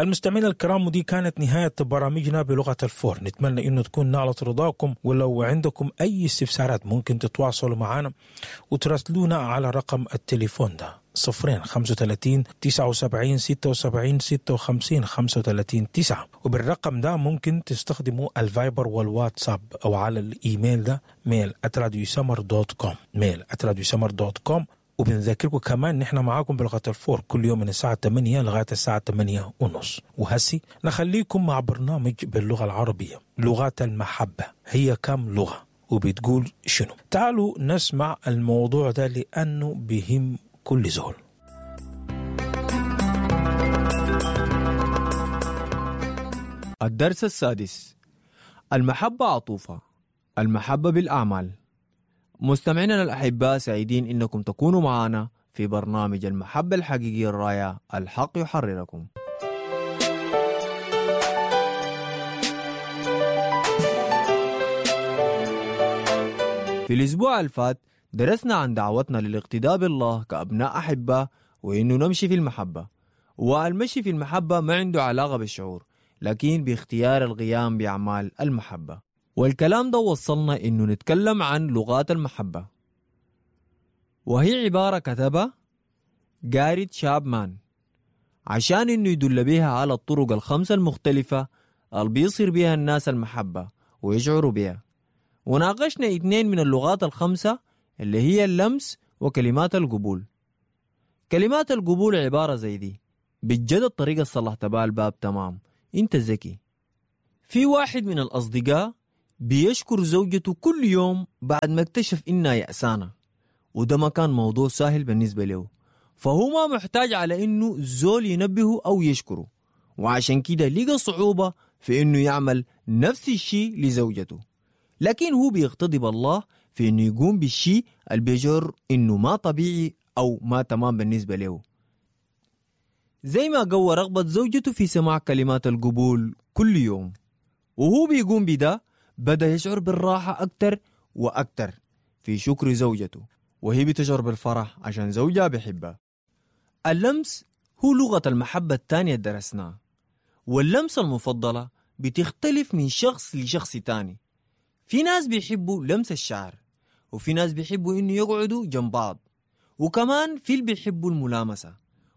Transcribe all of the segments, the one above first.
المستمعين الكرام، ودي كانت نهاية برامجنا بلغة الفور. نتمنى إنه تكون نالت رضاكم، ولو عندكم أي استفسارات ممكن تتواصلوا معنا وتراسلونا على رقم التليفون ده 0 35 79 76 56 35 9. وبالرقم ده ممكن تستخدموا الفايبر والواتساب، أو على الإيميل ده mail@radiosummer.com، mail@radiosummer.com. وبنذكركم كمان نحن معاكم بلغة الفور كل يوم من الساعة 8 لغاية الساعة 8:30. وهسي نخليكم مع برنامج باللغة العربية، لغات المحبة. هي كم لغة وبتقول شنو؟ تعالوا نسمع الموضوع ده لأنه بهم كل زول. الدرس السادس: المحبة عطوفة، المحبة بالأعمال. مستمعينا الأحباء، سعيدين إنكم تكونوا معنا في برنامج المحبة الحقيقية الرائع الحق يحرركم. في الأسبوع الفات درسنا عن دعوتنا للاقتداء بالله كأبناء أحبة، وإنه نمشي في المحبة. والمشي في المحبة ما عنده علاقة بالشعور، لكن باختيار القيام بأعمال المحبة. والكلام ده وصلنا إنه نتكلم عن لغات المحبة، وهي عبارة كتبها جاري تشابمان عشان إنه يدل بها على الطرق الخمسة المختلفة اللي بيصير بها الناس المحبة ويشعروا بها. وناقشنا 2 من اللغات الخمسة اللي هي اللمس وكلمات القبول. كلمات القبول عبارة زي دي: بجد الطريقة صلحت بها الباب تمام، انت ذكي. في واحد من الأصدقاء بيشكر زوجته كل يوم بعد ما اكتشف إنها يأسانة، وده ما كان موضوع سهل بالنسبة له، فهو ما محتاج على إنه زول ينبهه أو يشكره، وعشان كده لقى صعوبة في إنه يعمل نفس الشيء لزوجته. لكن هو بيغتضب الله في إنه يقوم بالشيء اللي بيجر إنه ما طبيعي أو ما تمام بالنسبة له، زي ما قوى رغبة زوجته في سماع كلمات القبول كل يوم. وهو بيقوم بده بدأ يشعر بالراحة أكتر وأكتر في شكر زوجته، وهي بتشعر بالفرح عشان زوجها بيحبها. اللمس هو لغة المحبة الثانية درسناها، واللمسة المفضلة بتختلف من شخص لشخص تاني. في ناس بيحبوا لمس الشعر، وفي ناس بيحبوا إنه يقعدوا جنب بعض، وكمان في اللي بيحبوا الملامسة،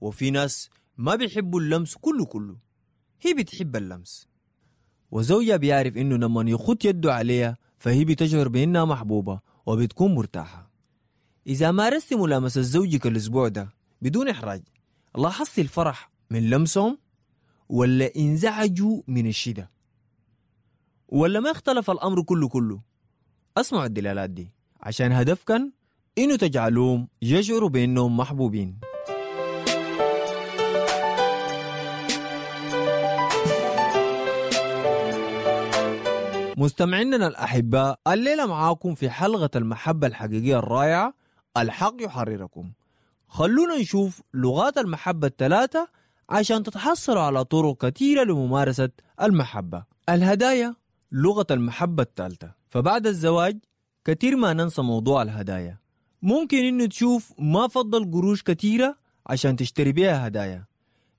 وفي ناس ما بيحبوا اللمس كله كله. هي بتحب اللمس، وزوجها بيعرف إنه لما يخط يده عليها فهي بتشعر بإنها محبوبة وبتكون مرتاحة. إذا مارست ملامسة زوجك الأسبوع ده بدون إحراج، لاحظت الفرح من لمسهم ولا انزعجوا من الشدة؟ ولا ما اختلف الأمر كله كله؟ اسمعوا الدلالات دي عشان هدفكن إنه تجعلوهم يشعروا بإنهم محبوبين. مستمعينا الأحباء، الليلة معاكم في حلقة المحبة الحقيقية الرائعة الحق يحرركم. خلونا نشوف لغات المحبة الثلاثة عشان تتحصلوا على طرق كثيرة لممارسة المحبة. الهدايا لغة المحبة الثالثة. فبعد الزواج كثير ما ننسى موضوع الهدايا. ممكن إنه تشوف ما فضل قروش كثيرة عشان تشتري بيها هدايا،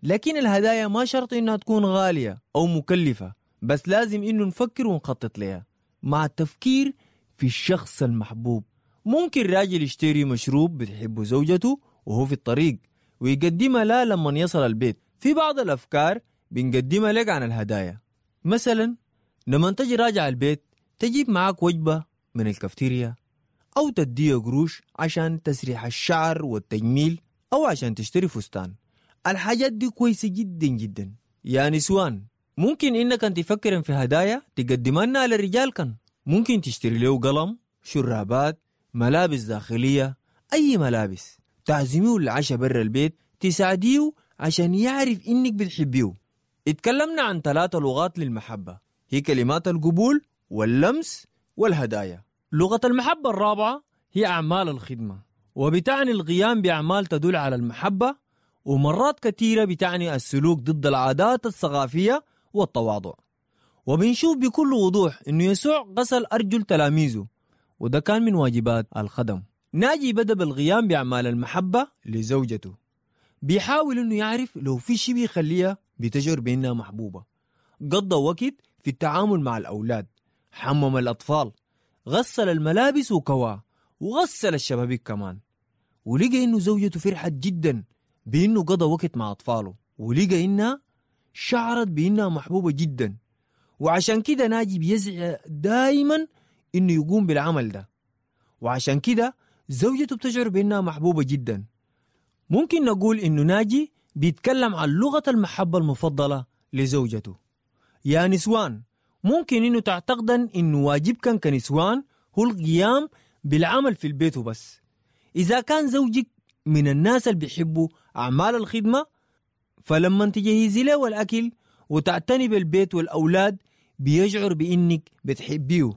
لكن الهدايا ما شرط إنها تكون غالية أو مكلفة، بس لازم إنه نفكر ونخطط لها مع التفكير في الشخص المحبوب. ممكن راجل يشتري مشروب بتحبه زوجته وهو في الطريق ويقدمها لا لما يصل البيت. في بعض الأفكار بنقدمها لك عن الهدايا، مثلا لما تجي راجع البيت تجيب معاك وجبة من الكافتيريا، أو تديه قروش عشان تسريح الشعر والتجميل، أو عشان تشتري فستان. الحاجات دي كويسة جدا جدا. يا نسوان، ممكن إنك أنت تفكر في هدايا تقدمها للرجال. كان ممكن تشتري له قلم، شرابات، ملابس داخلية، أي ملابس. تعزميه العشاء برا البيت، تساعديه عشان يعرف إنك بتحبيه. اتكلمنا عن 3 لغات للمحبة، هي كلمات القبول واللمس والهدايا. لغة المحبة الرابعة هي أعمال الخدمة، وبتعني القيام بأعمال تدل على المحبة، ومرات كثيرة بتعني السلوك ضد العادات الثقافية والتواضع. وبنشوف بكل وضوح إنه يسوع غسل أرجل تلاميذه، وده كان من واجبات الخدم. ناجي بدأ بالقيام بأعمال المحبة لزوجته، بيحاول إنه يعرف لو في شيء بيخليها بتشعر بأنها محبوبة. قضى وقت في التعامل مع الأولاد، حمم الأطفال، غسل الملابس وكواها، وغسل الشبابيك كمان. ولقى إنه زوجته فرحت جدا بإنه قضى وقت مع أطفاله، ولقى إنها شعرت بإنها محبوبة جدا. وعشان كده ناجي بيسعى دايما إنه يقوم بالعمل ده، وعشان كده زوجته بتشعر بإنها محبوبة جدا. ممكن نقول إنه ناجي بيتكلم عن لغة المحبة المفضلة لزوجته. يا نسوان، ممكن إنه تعتقدن إنه واجبكن كنسوان هو القيام بالعمل في البيت وبس. إذا كان زوجك من الناس اللي بيحبوا أعمال الخدمة، فلما تجهزي له الأكل وتعتني بالبيت والأولاد بيشعر بإنك بتحبيه،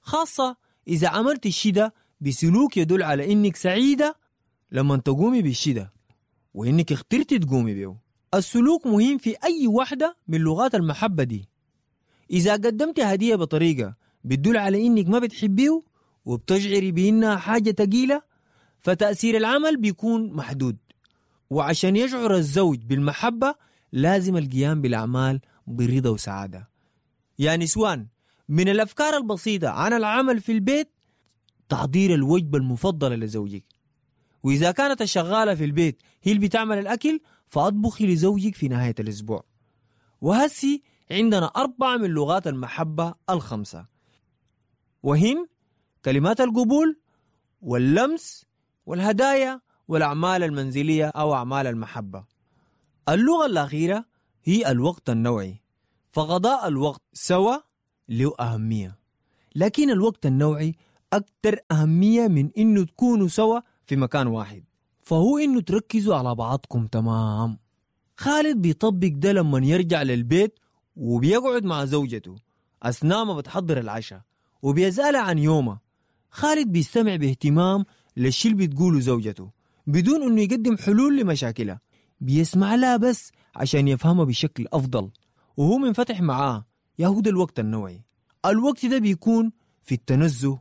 خاصة إذا عملت الشي ده بسلوك يدل على إنك سعيدة لما تقومي بالشي ده وإنك اخترتي تقومي به. السلوك مهم في أي واحدة من لغات المحبة دي. إذا قدمت هدية بطريقة بتدل على إنك ما بتحبيه وبتشعري بإنها حاجة تقيلة، فتأثير العمل بيكون محدود. وعشان يشعر الزوج بالمحبة لازم القيام بالأعمال برضا وسعادة. يا نسوان، من الأفكار البسيطة عن العمل في البيت تحضير الوجبة المفضلة لزوجك. وإذا كانت الشغالة في البيت هي اللي بتعمل الأكل، فأطبخي لزوجك في نهاية الأسبوع. وهسي عندنا 4 من لغات المحبة ال5، وهن كلمات القبول واللمس والهدايا والأعمال المنزلية أو أعمال المحبة. اللغة الأخيرة هي الوقت النوعي، فقضاء الوقت سوا له أهمية، لكن الوقت النوعي أكثر أهمية من إنه تكونوا سوا في مكان واحد، فهو إنه تركزوا على بعضكم. تمام. خالد بيطبق ده لما يرجع للبيت وبيقعد مع زوجته أثناء ما بتحضر العشاء وبيسألها عن يومه. خالد بيستمع باهتمام للشي اللي بتقوله زوجته بدون إنه يقدم حلول لمشاكلها، بيسمع لها بس عشان يفهمها بشكل أفضل، وهو منفتح معاه. يهود الوقت النوعي. الوقت ده بيكون في التنزه،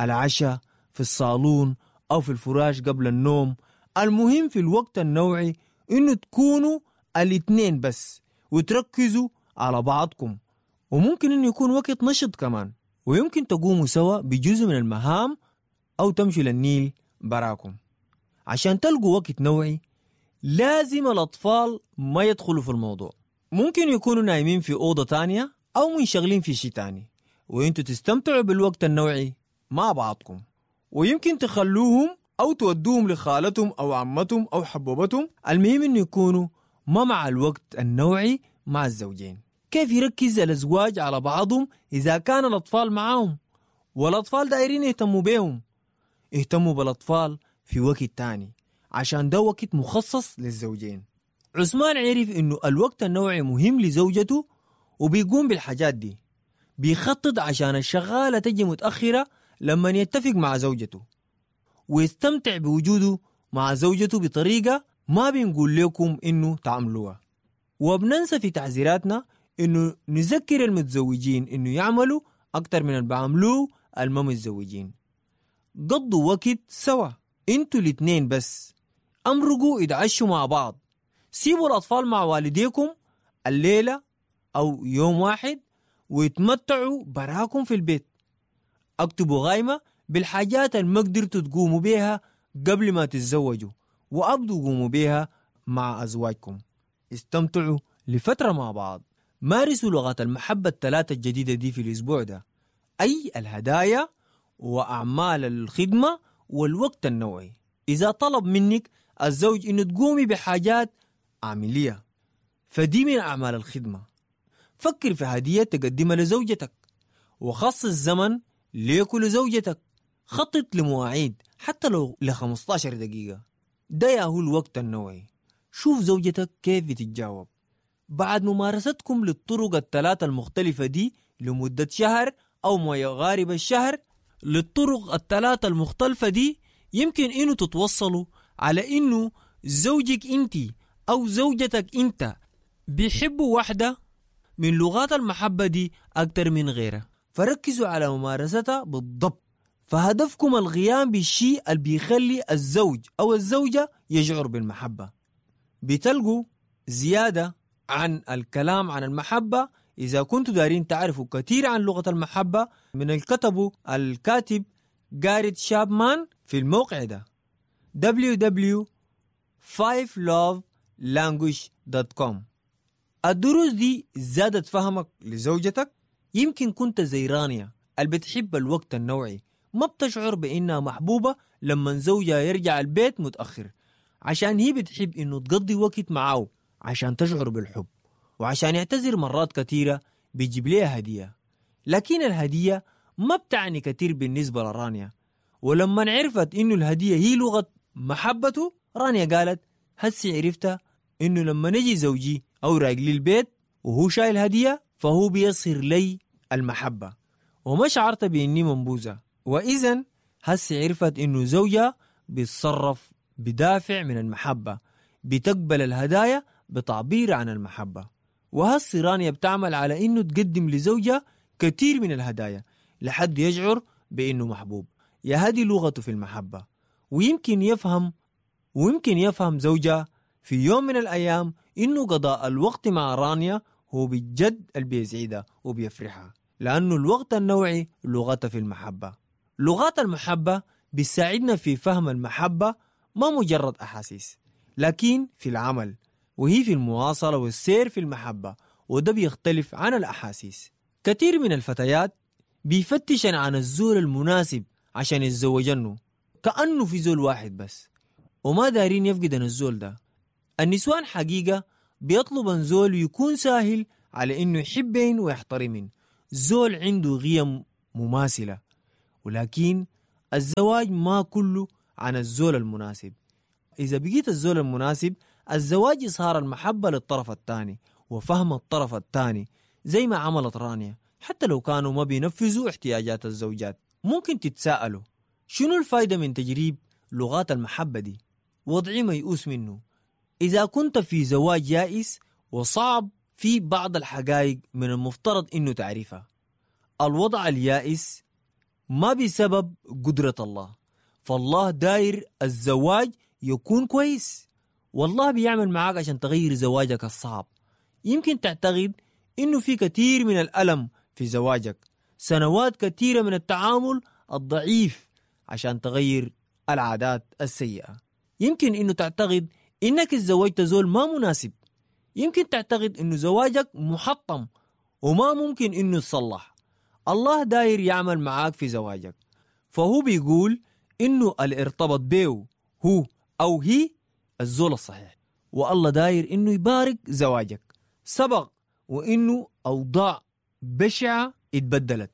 العشاء، في الصالون أو في الفراش قبل النوم. المهم في الوقت النوعي إنه تكونوا الاثنين بس وتركزوا على بعضكم، وممكن إنه يكون وقت نشط كمان، ويمكن تقوموا سوا بجزء من المهام أو تمشوا للنيل براكم. عشان تلقوا وقت نوعي لازم الأطفال ما يدخلوا في الموضوع، ممكن يكونوا نايمين في أوضة تانية أو منشغلين في شيء تاني، وإنتوا تستمتعوا بالوقت النوعي مع بعضكم. ويمكن تخلوهم أو تودوهم لخالتهم أو عمتهم أو حبوبتهم، المهم إنه يكونوا ما مع الوقت النوعي مع الزوجين. كيف يركز الأزواج على بعضهم إذا كان الأطفال معاهم والأطفال دايرين يهتموا بيهم؟ اهتموا بالأطفال في وقت تاني، عشان ده وقت مخصص للزوجين. عثمان عرف إنه الوقت النوعي مهم لزوجته وبيقوم بالحاجات دي، بيخطط عشان الشغالة تجي متأخرة لما يتفق مع زوجته، ويستمتع بوجوده مع زوجته بطريقة ما بنقول لكم إنه تعملوها. وبننسى في تعزيراتنا إنه نذكر المتزوجين إنه يعملوا أكتر من اللي بعملوه الما متزوجين. قضوا وقت سوا انتوا الاتنين بس، امرقوا اتعشوا مع بعض، سيبوا الأطفال مع والديكم الليلة أو يوم واحد ويتمتعوا براكم في البيت. اكتبوا غايمة بالحاجات اللي ما قدرتوا تقوموا بيها قبل ما تتزوجوا، وأبدوا قوموا بيها مع أزواجكم. استمتعوا لفترة مع بعض. مارسوا لغات المحبة الثلاثة الجديدة دي في الأسبوع ده، أي الهدايا وأعمال الخدمة والوقت النوعي. إذا طلب منك الزوج إنه تقومي بحاجات عملية، فدي من أعمال الخدمة. فكر في هدية تقدمها لزوجتك، وخصص زمن ليك ولزوجتك. خطط لمواعيد حتى لو ل 15 دقيقة. ده ياهو الوقت النوعي. شوف زوجتك كيف بتتجاوب. بعد ممارستكم للطرق الثلاثة المختلفة دي لمدة شهر أو ما يقارب الشهر، للطرق الثلاثة المختلفة دي يمكن إنه تتوصلوا على إنه زوجك أنت أو زوجتك أنت بيحبوا واحدة من لغات المحبة دي أكتر من غيرها، فركزوا على ممارستها بالضبط. فهدفكم القيام بالشيء اللي بيخلي الزوج أو الزوجة يشعر بالمحبة. بتلقوا زيادة عن الكلام عن المحبة، إذا كنتوا دارين تعرفوا كثير عن لغة المحبة من الكتبه الكاتب جاريت شابمان في الموقع ده www.5lovelanguage.com. الدروس دي زادت فهمك لزوجتك. يمكن كنت زي رانيا اللي بتحب الوقت النوعي، ما بتشعر بإنها محبوبة لما زوجها يرجع البيت متأخر، عشان هي بتحب إنه تقضي وقت معاه عشان تشعر بالحب، وعشان يعتذر مرات كثيرة بيجيب لها هدية. لكن الهدية ما بتعني كثير بالنسبة لرانيا، ولما عرفت إنه الهدية هي لغة محبته، رانيا قالت هسي عرفتها إنه لما نجي زوجي أو راجلي البيت وهو شايل هدية فهو بيصير لي المحبة، وما شعرت بإني منبوذة. وإذن هسي عرفت إنه زوجها بيتصرف بدافع من المحبة، بتقبل الهدايا بتعبير عن المحبة. وهسي رانيا بتعمل على إنه تقدم لزوجها كثير من الهدايا لحد يشعر بإنه محبوب. يا هذه لغته في المحبة. ويمكن يفهم زوجها في يوم من الأيام إنه قضاء الوقت مع رانيا هو بالجد اللي بيسعدها وبيفرحها، لأنه الوقت النوعي لغته في المحبة. لغات المحبة بيساعدنا في فهم المحبة ما مجرد أحاسيس، لكن في العمل، وهي في المواصلة والسير في المحبة، وده بيختلف عن الأحاسيس. كثير من الفتيات بيفتشن عن الزول المناسب عشان يتزوجنه، كأنه في زول واحد بس، وما دارين يفقدن الزول ده. النسوان حقيقة بيطلبن زول يكون ساهل على إنه يحبين ويحترمين، زول عنده قيم مماثلة. ولكن الزواج ما كله عن الزول المناسب. إذا بقيت الزول المناسب، الزواج إظهار المحبة للطرف الثاني وفهم الطرف الثاني، زي ما عملت رانيا، حتى لو كانوا ما بينفذوا احتياجات الزوجات. ممكن تتساءلوا شنو الفايدة من تجريب لغات المحبة دي؟ وضعي ميؤوس منه. إذا كنت في زواج يائس وصعب، في بعض الحقائق من المفترض إنه تعرفها. الوضع اليائس ما بسبب قدرة الله، فالله داير الزواج يكون كويس، والله بيعمل معاك عشان تغير زواجك الصعب. يمكن تعتقد إنه في كثير من الألم في زواجك، سنوات كثيرة من التعامل الضعيف عشان تغير العادات السيئة. يمكن إنه تعتقد إنك تزوجت زول ما مناسب. يمكن تعتقد إنه زواجك محطم وما ممكن إنه يتصلح. الله داير يعمل معاك في زواجك، فهو بيقول إنه اللي ارتبط بيه هو أو هي الزول الصحيح، والله داير إنه يبارك زواجك. سبق وإنه أوضاع بشعة اتبدلت،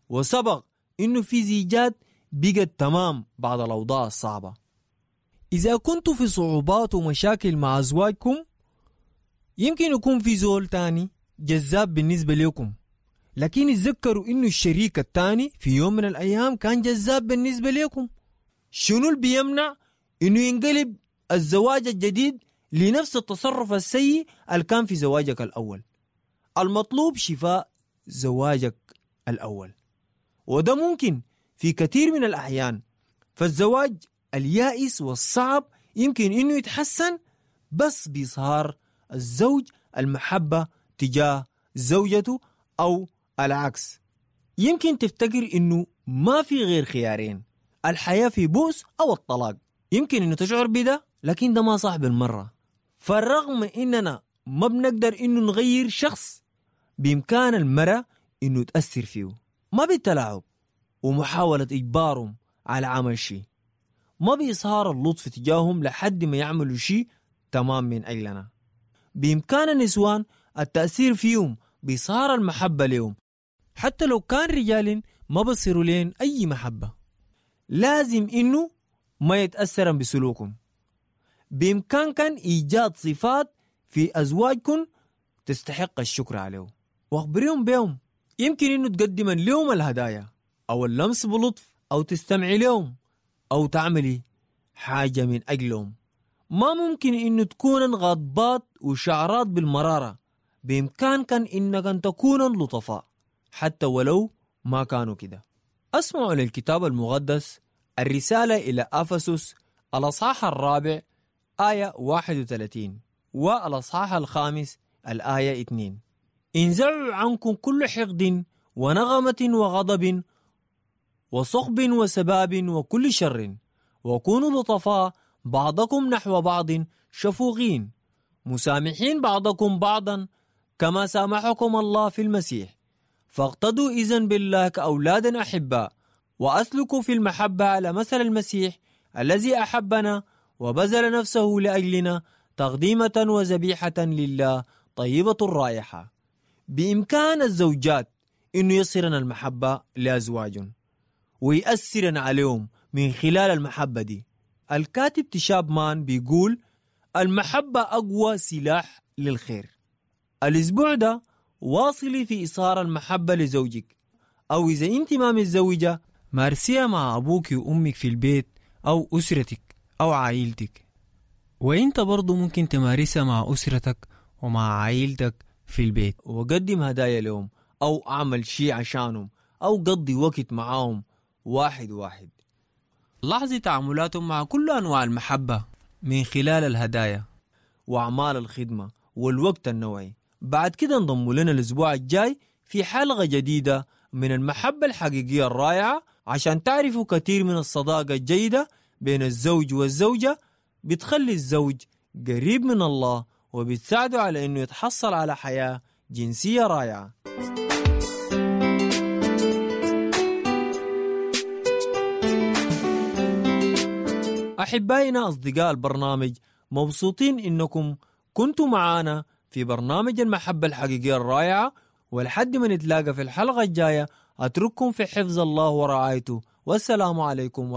وسبق إنه في زيجات بقت تمام بعد الأوضاع الصعبة. إذا كنتوا في صعوبات ومشاكل مع أزواجكم، يمكن يكون في زول تاني جذاب بالنسبة لكم، لكن اتذكروا إنه الشريك التاني في يوم من الأيام كان جذاب بالنسبة لكم. شنو اللي بيمنع إنه ينقلب الزواج الجديد لنفس التصرف السيء اللي كان في زواجك الأول؟ المطلوب شفاء زواجك الأول، وده ممكن في كثير من الأحيان. فالزواج اليائس والصعب يمكن إنه يتحسن بس بإظهار الزوج المحبة تجاه زوجته أو العكس. يمكن تفتكر إنه ما في غير خيارين، الحياة في بؤس أو الطلاق. يمكن إنه تشعر بده، لكن ده ما صح بالمرة. فالرغم إننا ما بنقدر إنه نغير شخص، بإمكان المرأة إنه تأثر فيه، ما بالتلاعب ومحاولة إجبارهم على عمل شيء، ما بإظهار اللطف تجاههم لحد ما يعملوا شيء تمام من أجلنا. بإمكان النسوان التأثير فيهم بإظهار المحبة لهم، حتى لو كان رجال ما بصيروا لين أي محبة. لازم إنه ما يتأثرن بسلوكهم. بإمكانكم إيجاد صفات في أزواجكم تستحق الشكر عليه، واخبريهم بهم. يمكن إنه تقدم لهم الهدايا أو اللمس بلطف أو تستمعي لهم أو تعملي حاجة من أجلهم. ما ممكن إنه تكون غضبات وشعرات بالمرارة. بإمكانكم إنك أن تكون لطفاء حتى ولو ما كانوا كده. أسمعوا للكتاب المقدس الرسالة إلى أفسس الأصحاح 4 آية 31 والأصحاح 5 الآية 2. انزعوا عنكم كل حقد ونغمة وغضب وصخب وسباب وكل شر، وكونوا لطفاء بعضكم نحو بعض، شفوقين، مسامحين بعضكم بعضا كما سامحكم الله في المسيح. فاقتدوا إذن بالله كأولاد أحباء، وأسلكوا في المحبة على مثل المسيح الذي أحبنا وبذل نفسه لأجلنا تقديمة وذبيحة لله طيبة الرائحة. بإمكان الزوجات إنه يصرن المحبة لأزواجهم ويأثرن عليهم من خلال المحبة دي. الكاتب تشاب مان بيقول: المحبة أقوى سلاح للخير. الأسبوع ده واصلي في إصهار المحبة لزوجك، أو إذا أنت ما متزوجة مارسيها مع أبوك وأمك في البيت أو أسرتك أو عائلتك. وإنت برضو ممكن تمارسها مع أسرتك ومع عائلتك في البيت، وقدم هدايا لهم أو أعمل شيء عشانهم أو قضي وقت معاهم واحد واحد. لاحظي تعاملاتهم مع كل أنواع المحبة من خلال الهدايا وأعمال الخدمة والوقت النوعي. بعد كده انضموا لنا الأسبوع الجاي في حلقة جديدة من المحبة الحقيقية الرائعة، عشان تعرفوا كثير من الصداقة الجيدة بين الزوج والزوجة بتخلي الزوج قريب من الله وبتساعده على أنه يتحصل على حياة جنسية رائعة. أحبائنا أصدقاء البرنامج، مبسوطين إنكم كنتوا معانا في برنامج المحبة الحقيقية الرائعة، ولحد ما نتلاقى في الحلقة الجاية أترككم في حفظ الله ورعايته، والسلام عليكم.